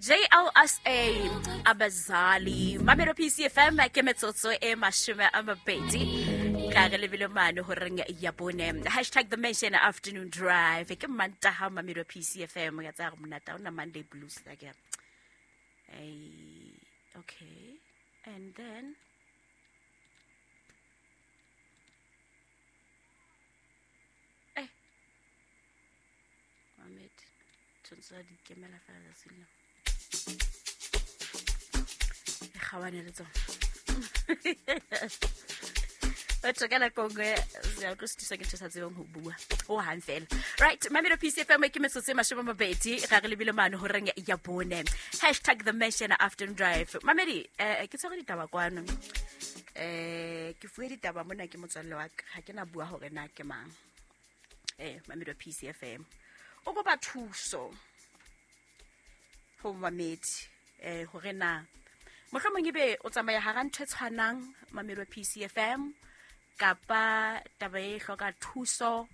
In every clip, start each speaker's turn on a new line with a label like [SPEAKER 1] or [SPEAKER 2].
[SPEAKER 1] JLSA Abazali Mamelo PCFM ke metsotso e 20 ka re lebile mane horeng ya bone. Hashtag the mention afternoon drive ke Mantaha Mamelo PCFM ya tsa re monata ona Monday blues la ke. Okay, and then Mohammed tshwanetse a di ikemela fela tsatsi leo e gawane le tsone batho ka nako nngwe ya tlo setisa ke ntho sa tsebeng go bua o hang fela. Right, Mamelo PCFM ke metsotso e 20 ga re lebile mane horeng ya bone. Hashtag the mention afternoon drive. Mamedi, ke tshwere ditaba kwano, ke fuwe ditaba mona ke motswalle wa ka, ga ke na bua hore na ke mang. Mamelo PCFM o kopa thuso ho mamedi, hore na mohlomong ebe o tsamaya hara ntho e tshwanang Mamelo PCFM kapa taba e hloka thuso,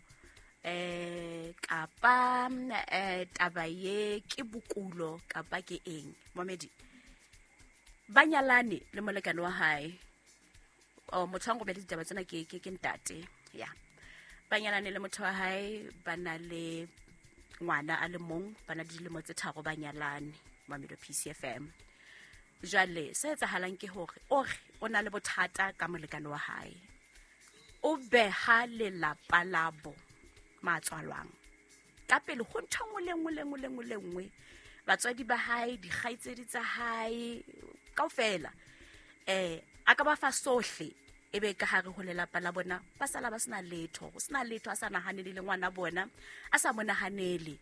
[SPEAKER 1] kapa taba ye ke bokulo kapa ke eng. Mamedi ba nyalane le molekane wa hae, o motho wa nromele ditaba tsena ke ntate ya ba nyalane le motho wa hae, ba na le ngwana a le mong, ba na le dilemo tse 3 ba nyalane. Mamelo PCFM jwale se etsahalang ke hore o re o na le bothata ka molekane wa hae, o beha lelapa labo matswalwang ka pele ho ntho nngwe le nngwe le nngwe le nngwe le nngwe, batswadi ba hae, dikgaitsedi tsa hae kaofela, a ka ba fa sohle, ebe ka hare ho lelapa la bona ba sala ba sena letho, ho sena letho, a sa nahanele le ngwana bona, a sa mo nahanele.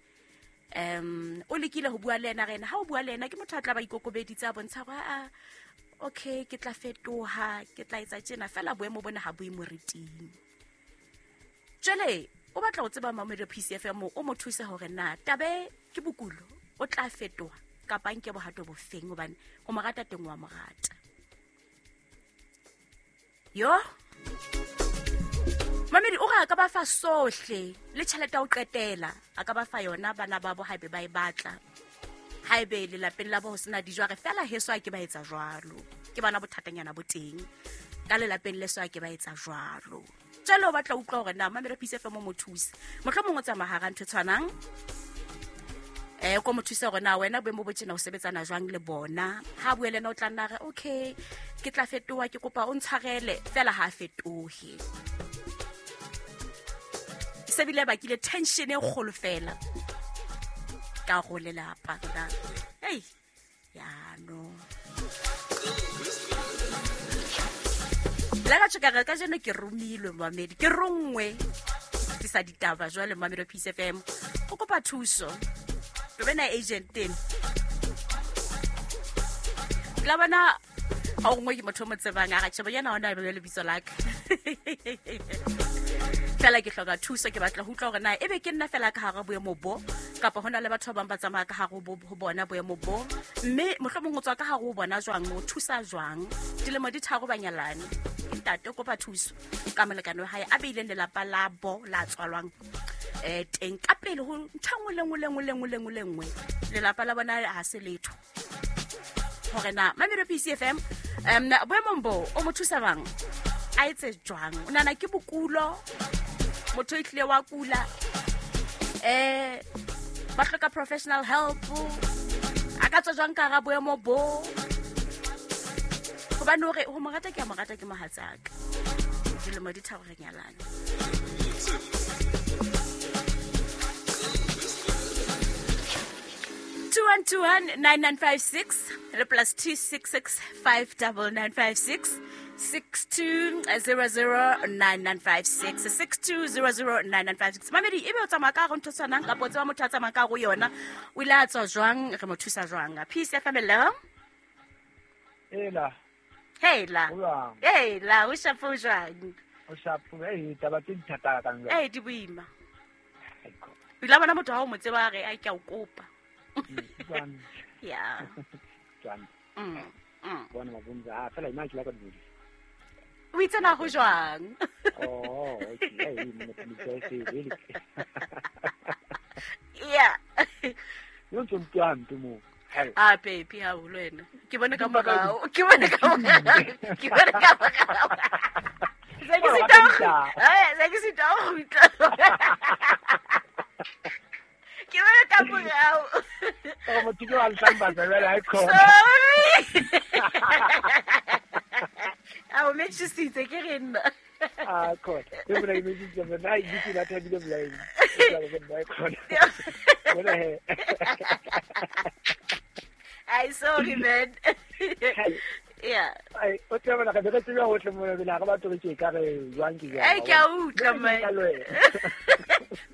[SPEAKER 1] O lekile ho bua le yena, re yena ha o bua le yena ke motho a tla ba ikokobeditse, a bontsha hore a okay, ke tla fetoha, ke tla etsa tjena, fela boemo bona ha bo e moriting. Jwale o batla ho tseba Mamelo PCFM o mo thuse hore na tabe ke bokulo, o tla fetoha kapa nke bohato bofeng, hobane ho mo rata teng wa mo rata. Yo Mamedi o re a ka ba fa sohle le tjhelete ya ho qetela, a ka ba fa yona bana ba bo haebe ba e batla, haebe lelapeng la bo ho sena dijo, a re fela heso a ke ba etsa jwalo, ke bana bothatanyana bo teng ka lelapeng leso a ke ba etsa jwalo. Jwale o batla ho utlwa hore na Mamelo PCFM o mo thuse, mohlomong o tsamaya hara ntho e tshwanang, ko mo thuse hore na wena boemo bo tjena o sebetsana jwang le bona. Ha bue le yena o tla nna re okay, ke tla fetoha, ke kopa o ntshwarele, fela ha a fetohe. Se bile bakile tension e kgolo fela ka go lelapa ka ei ya no la ka tšhoka ka jeno ke romilwe mamedi, ke rongwe ke sa ditaba jwale Mamelo PCFM o kopa thuso, re bena agent teng la bona ha o nngwe ke motho o mo tsebang, a re tjhe bonyana hona be lebitso la ka fela ke hloka thuso, ke batla ho utlwa hore na ebe ke nna fela ka hara boemo bo kapa hona le batho ba bang ba tsamaya ka hare ho bona boemo bo, mme mohlomong o tswa ka hare ho bona jwang, o thusa jwang. Dilemo di 3 ba nyalane, ntate o kopa thuso ka molekane wa hae a beileng lelapa la bo la tswalwang teng ka pele ho ntho nngwe le nngwe le nngwe le nngwe le nngwe le nngwe, lelapa la bona ha se letho. Hore na Mamelo PCFM boemong bo o mo thusa bang, a etse jwang, o nahana ke bokulo, motho e tlile wa kula, ba hloka professional help, a ka tswa jwang ka hara boemo bo, hobane hore ho mo rata ke a mo rata ke mohatsaka, dilemo di 3 re nyalane. 21219956 le plus 266 59956 62009956 62009956. Mamedi ebe o tsamaya ka hare ntho e tshwanang kapa o tseba motho a tsamaya ka hare ho yona, o ile a tswa jwang, re mo thusa jwang? Peace FM, hello.
[SPEAKER 2] Hela.
[SPEAKER 1] Hela.
[SPEAKER 2] Ho jwang?
[SPEAKER 1] Hela, o shapo jwang?
[SPEAKER 2] O shapo, taba tse di thata ka jwang?
[SPEAKER 1] Di boima. O ile a bona motho ha o mo tseba a re, ai, ke a o kopa.
[SPEAKER 2] Jwang?
[SPEAKER 1] Ya.
[SPEAKER 2] Jwang? Bona mabonza, fela ina ke la ka dumedisa.
[SPEAKER 1] O itse na ho jwang?
[SPEAKER 2] Oh, okay. Ei, mona ke itse se le.
[SPEAKER 1] Ya.
[SPEAKER 2] Yo ntse ntwa hampe moo.
[SPEAKER 1] A pepi haholo wena. Ke bone ka morao. Ke bone ka morao. Ke bone ka morao. Se ke sita ho se ke sita ho kgutla. Ke bone ka morao.
[SPEAKER 2] O motho ke wa ntlamba jwale ha e khona.
[SPEAKER 1] Sorry. A o metjhisitse ke re nna.
[SPEAKER 2] Ah, khona. E bona ke metjhisitse mona ha e dutse ba thabile bolaeng. Bona he.
[SPEAKER 1] Ai, sorry man. Yeah.
[SPEAKER 2] Ai, o tseba bona ka re tseba hohle mona bela ga batho re ke ka re jwang ke jwang.
[SPEAKER 1] Ai, ke a utlwa man.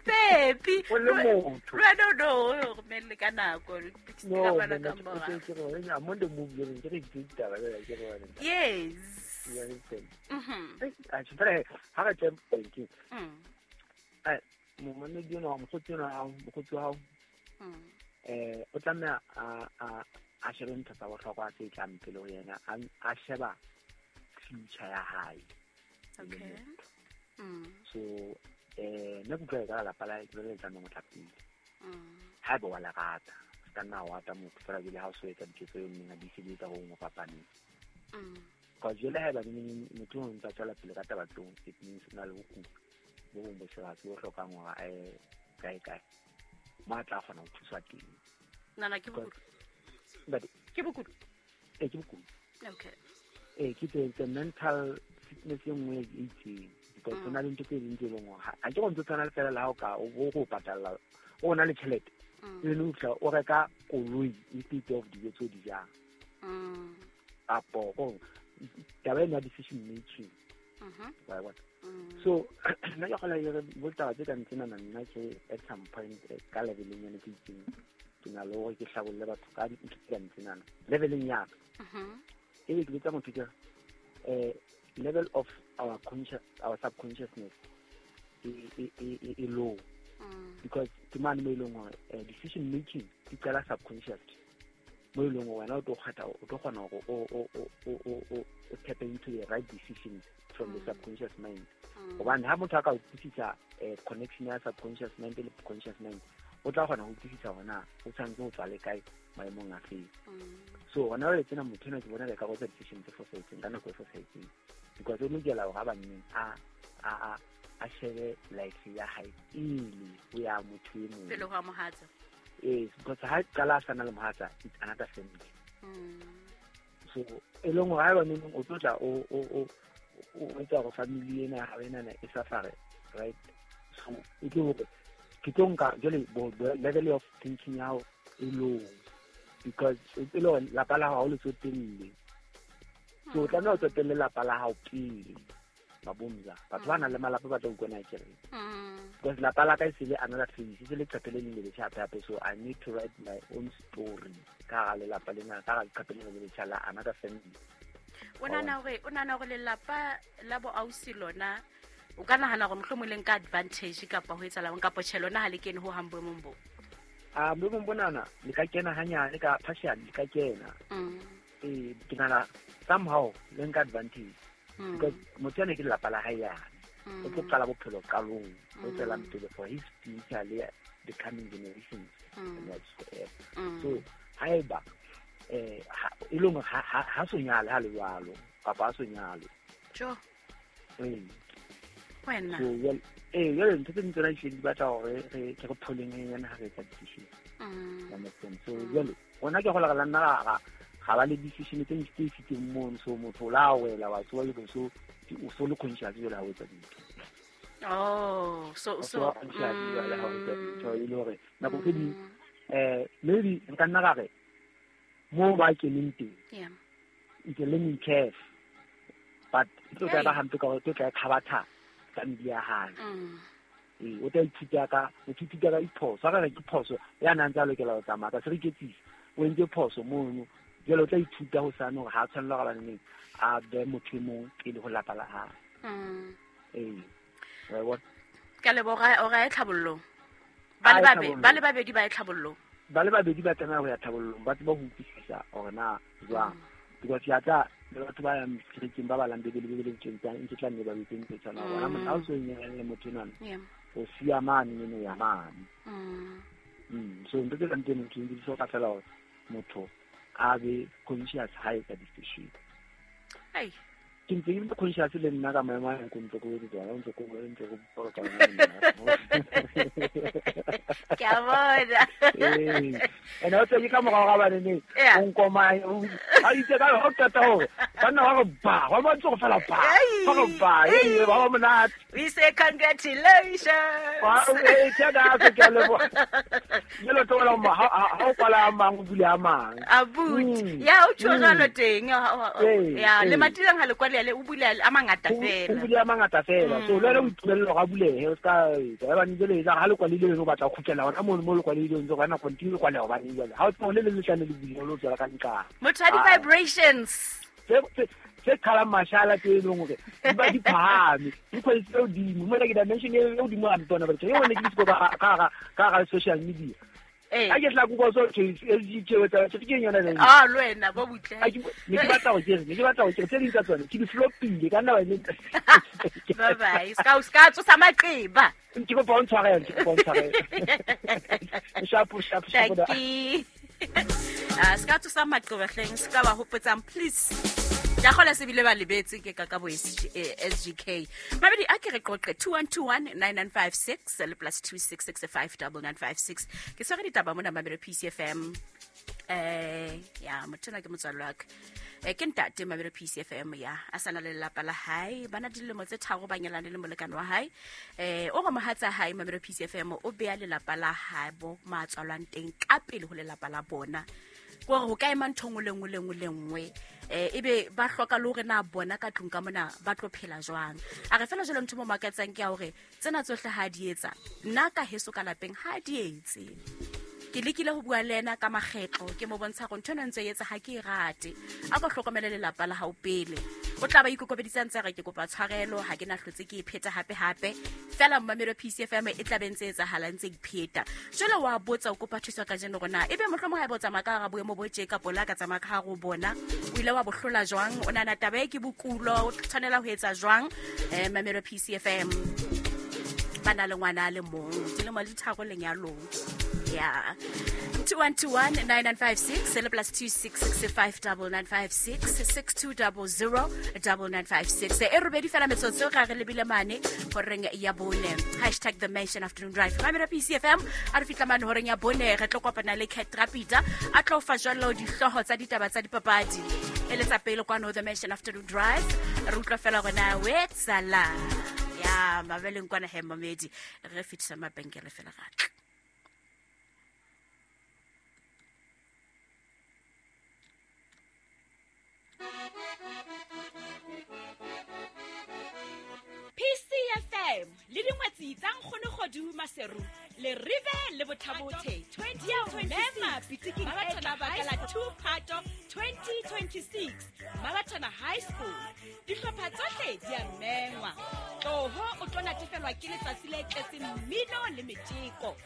[SPEAKER 1] Pepi.
[SPEAKER 2] O le motho.
[SPEAKER 1] Lwa no no, o romelle ka nako.
[SPEAKER 2] No,
[SPEAKER 1] Ka bana
[SPEAKER 2] man,
[SPEAKER 1] ka morao.
[SPEAKER 2] ke re I'm on the move jwale, ke re ditaba jwale ke re bona.
[SPEAKER 1] Yes.
[SPEAKER 2] You understand?
[SPEAKER 1] Mhm.
[SPEAKER 2] A tshwere ha re tle ke.
[SPEAKER 1] Mm.
[SPEAKER 2] Ai, momamedi ona mokgotsi ona wa hao, mokgotsi wa hao.
[SPEAKER 1] Mm.
[SPEAKER 2] O tlameha a shebe ntho tsa bohlokwa tse tlang pele ho yena, a sheba future ya hae.
[SPEAKER 1] Okay. Mm.
[SPEAKER 2] So, nna ke utlwa ekare lapa la hae ke lona le tlamehang ho tla pele.
[SPEAKER 1] Mm.
[SPEAKER 2] Haeba wa le rata, se ka nna wa rata motho fela jwale ha o so etsa diketso eo nneng a di sebetsa ho nngwe fapaneng.
[SPEAKER 1] Mm.
[SPEAKER 2] Because jwale haeba neng motho o ntse a tswela pele ka taba tseo, it means o na le bokudi bo bong bo serious bo hlokang hore a ye kae kae mo a tla kgona ho thuswa teng.
[SPEAKER 1] Nana ke bokudu.
[SPEAKER 2] But
[SPEAKER 1] Ke bokudu.
[SPEAKER 2] Ke bokudu.
[SPEAKER 1] Okay.
[SPEAKER 2] Ke tse mental fitness e nngwe e itseng. Because ho na le ntho tse ding tse leng hore ha ke go ntse tshwana le fela le ha o ka o bo go patalla, o na le tjhelete.
[SPEAKER 1] Mm.
[SPEAKER 2] E le o tla o reka koloi instead of dijo tseo di jang.
[SPEAKER 1] Mm.
[SPEAKER 2] Kapo go taba ena ya decision making.
[SPEAKER 1] Mhm.
[SPEAKER 2] Wa bona?
[SPEAKER 1] Mm.
[SPEAKER 2] So nna ke kgola ke re bo taba tse kang tsenana nna ke at some point ka leveleng yane ke itseng ke na le hore ke hlabolle batho ka dintho tse kang tsenana leveleng ya ka.
[SPEAKER 1] Mhm.
[SPEAKER 2] Ebe ke botsa motho ke re, level of our conscious, our subconsciousness e low.
[SPEAKER 1] Mm.
[SPEAKER 2] Because ke mane mo e leng hore decision making di qala subconscious. Mo e leng hore wena o tlo kgetha, o tlo kgona hore o tap into the right decisions from the
[SPEAKER 1] Mm.
[SPEAKER 2] subconscious mind.
[SPEAKER 1] Mm.
[SPEAKER 2] Hobane ha motho a ka utlwisisa connection ya subconscious mind le conscious mind, o tla kgona ho utlwisisa hore na o tshwanetse ho tswa le kae maemong a feng.
[SPEAKER 1] Mm.
[SPEAKER 2] So hona jwale tsena motho enwa ke bona ka etsa decision tse fosahetseng ka nako e fosahetseng. Because o lokela hore a banneng a shebe life ya hae pele ho ya motho e mong.
[SPEAKER 1] Pele ho ya mohatsa.
[SPEAKER 2] Yes, because ha qala a sana le mohatsa, it's another family.
[SPEAKER 1] Mm.
[SPEAKER 2] So e leng hore haeba neng o tlo tla o etsa hore family ena ya hao enana e suffer, right? So e tlo hore ke tlo nka jwale bo level of thinking ya hao e low because e le hore lapa la hao ha o le tsotelle. So o tlameha o tsotelle lapa la hao pele. Mabomza, batho ba nang le malapa ba tla utlwa na ke reng.
[SPEAKER 1] Mm.
[SPEAKER 2] Because lapa la ka e se le another phase, e se le leqephe le leng le letjha hape hape, so I need to write my own story ka hara lelapa lena, ka hara leqephe lena le letjha la another family.
[SPEAKER 1] O nahana hore lelapa la bo ausi lona o ka nahana hore mohlomong le nka advantage kapa ho etsahalang kapa tjhe lona ha le kene ho hang boemong bo?
[SPEAKER 2] Ah, boemong bonana le ka kena hanyane ka partially le ka kena.
[SPEAKER 1] Mm.
[SPEAKER 2] Ke nahana somehow le nka advantage.
[SPEAKER 1] Mm.
[SPEAKER 2] Because motho ene ke lelapa la hae yane.
[SPEAKER 1] Mm.
[SPEAKER 2] O tlo qala bophelo qalong, o
[SPEAKER 1] Mm.
[SPEAKER 2] tswelang pele for his future le the coming generations.
[SPEAKER 1] Mm.
[SPEAKER 2] And whatsoever.
[SPEAKER 1] Mm.
[SPEAKER 2] So haeba, ha, e leng hore ha so nyale ha le jwalo, kapa ha so nyale.
[SPEAKER 1] Jo.
[SPEAKER 2] Ee.
[SPEAKER 1] Wena.
[SPEAKER 2] So, jwale, jwale ntho tse ding tsona di batla hore ke re pholeng e nyane ha re etsa decision.
[SPEAKER 1] Mm.
[SPEAKER 2] You understand? So,
[SPEAKER 1] Mm.
[SPEAKER 2] jwale, rona ke hola re la nna ra ba le decision tse ntsi tse fiteng mono, so motho o la wela, wa tsoha jwale, so o so le conscious jwale ha o etsa dintho.
[SPEAKER 1] Oh, so,
[SPEAKER 2] O
[SPEAKER 1] so,
[SPEAKER 2] so conscious jwale ha o etsa dintho, e le hore nako tse ding,
[SPEAKER 1] Mm.
[SPEAKER 2] maybe nka nna ka re, moo ba keneng teng,
[SPEAKER 1] Yeah.
[SPEAKER 2] it's a learning curve, but e tlo tla ba
[SPEAKER 1] Hey.
[SPEAKER 2] hampe ka hore e tlo tla e kgabatha family ya hae.
[SPEAKER 1] Mm.
[SPEAKER 2] Ee, o tla ithuta ka, o ithuta ka diphoso. Ha ka re ke phoso, ya nang ntse a lokela ho tsamaya ka se re iketsise, o entse phoso mono. Jwale o tla ithuta hosane hore ha a tshwanela hore baneng a be motho e mong pele ho lapa la hae.
[SPEAKER 1] Mm.
[SPEAKER 2] Ee, wa e bona?
[SPEAKER 1] Ka leboha, o ra e tlhabollong. Ba
[SPEAKER 2] A
[SPEAKER 1] le
[SPEAKER 2] e
[SPEAKER 1] babe,
[SPEAKER 2] tlhabollong.
[SPEAKER 1] ba le babedi ba e tlhabollong.
[SPEAKER 2] Ba le babedi ba tlameha ho ya tlhabollong, ba tsebe ho utlwisisa hore na jwang.
[SPEAKER 1] Mm.
[SPEAKER 2] Because ya tla le batho ba yang kerekeng ba balang Bibele, Bibele e tjeng, ntse tla nne ba betse ntho e tshwanang. Bona motho ha o so nyalane le motho enwana,
[SPEAKER 1] Yeah.
[SPEAKER 2] o siya mane, eno ya mane.
[SPEAKER 1] Mm.
[SPEAKER 2] So ntho tse kang tseno, ntho di hloka fela hore motho a be conscious ha etsa decision.
[SPEAKER 1] Ai
[SPEAKER 2] ke ntse ke le conscious le nna ka maemo a ko ntse ko tswa ntse ko ntse ko ka
[SPEAKER 1] ke a bona.
[SPEAKER 2] Ene o tse ka morao ga bane ne o nkoma a itse ka ho qeta hore banna ba re ba ba ba tso fela ba ba re ba e ba ba monate.
[SPEAKER 1] We say congratulations.
[SPEAKER 2] Wa e tsada ke ke le bo le tlo la ma ha o kwala mang o bule a mang
[SPEAKER 1] abuti ya o tjho jalo teng ya le matileng ha le kwale le o bule a mangata fela.
[SPEAKER 2] O bule a mangata fela. So le o itumelelo ga bulehe o ska ba ba ntse le ha le kwalile le batla go khutlela hona mo mo le kwalile ntse gona continue kwale go bane jale ha o tsone le le tlane le bule lo tswela ka nka.
[SPEAKER 1] Motho a di vibrations.
[SPEAKER 2] Se khala mashala tse leng hore di ba di phahame di quality tse hodimo mo le ke dimension e hodimo a ntona ba tse yone ke disco ka ka ka social media. A ke tla go so ke tse ke yona le
[SPEAKER 1] ah le wena bo butle
[SPEAKER 2] a ke ne ke batla go ke ne ke batla go ke tse ding tsa tsone ke di flopile ka nna ba ne
[SPEAKER 1] bye bye ska ska tsosa maqeba
[SPEAKER 2] ke go bontshwarela ke go bontshwarela shapo shapo
[SPEAKER 1] shapo ska tsosa maqeba hleng ska ba hopotsang please ya khola se bile ba lebetse ke ka bo SGK mabedi a ke re qoqe 21219956 le plus 26659956 ke swere ditaba mona Mamelo PCFM ya motho na ke motswallo wa ka ke ntate Mamelo PCFM ya a sana le lelapa la hae bana dilemo tse tharo ba nyalane le molekane wa hae o re mohatsa hae Mamelo PCFM o beya lelapa la hae bo matswalwang teng ka pele ho lelapa la bona gore ho ka ema ntho nngwe le nngwe le nngwe le nngwe ebe ba hloka le hore na bona ka tlung ka mona ba tlo phela jwang. A re fela jalo ntho mo makatsang ke ya hore tsena tsohle ha di etsa nna ka heso ka lapeng ha di etse. Ke lekile ho bua le ena ka makgetlo ke mo bontsha gore ntho ena ntse e etsa ha ke e rate a ka hlokomele lelapa la hao pele o tla ba ikokobeditsa ntse re ke kopa tshwarelo ha ke na hlotse ke e pheta hape hape fela Mamelo PCFM e tla be ntse etsahala ntse e pheta jwale wa botsa o kopa thuso ka jeno rona ebe mohlomong ha e botsa maka ga boemo bo tje ka pola ka tsamaya ka go bona o ile wa bohlola jwang o nana taba e ke bokulo o tshwanela ho etsa jwang Mamelo PCFM ba na le ngwana le mong dilemo di tharo lenyalong ya 21219956 le plus 26659956 62009956 e robedi fela metsotso ga re lebile mane horeng ya bone hashtag the Mansion Afternoon Drive Mamelo PCFM a re fitla mane horeng ya bone re tlo kopana le Cat Rapida a tlo fa jalo dihlooho tsa ditaba tsa dipapadi e le tsa pele kwano the Mansion Afternoon Drive re utlwa fela gona we tsala ya mabeleng kwana he mamedi re fitisa mabenkele fela gatla. PCFM le dingwetsi tsa nkgono Kgodu Maseru le Rive le Bothabothe 2026 pitiking e tla bakala 2 Phato 2026 Mabathana High School dihlopha tsohle di a mengwa tloho o tlo natefelwa ke letsatsi le tletseng mmino le metjeko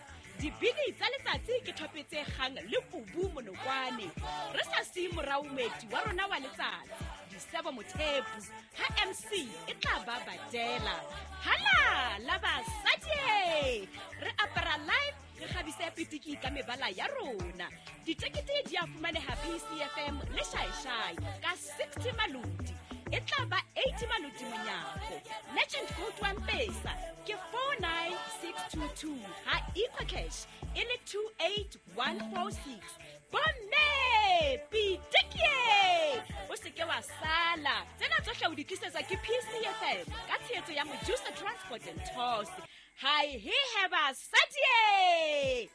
[SPEAKER 1] dibini tsa letsatsi ke thopetse kgang le kubu monokwane re sa siye morao moeti wa rona wa letsatsi Disebo Mothepu ha MC e tla ba badela hala la basadi re apara live re kgabise pitiki ka mebala ya rona ditekete di a fumaneha PCFM le Shaishai ka 60 malodi e tla ba 80 malodi monyako Legend Gold wa Mpesa ke 49622 ha EcoCash e le 28146 bomme pitiki o seke wa sala tsena tsohle o di tlisetswa ke PCFM ka tshehetso ya Mojusa Transport and Tours. Hi he he basadi.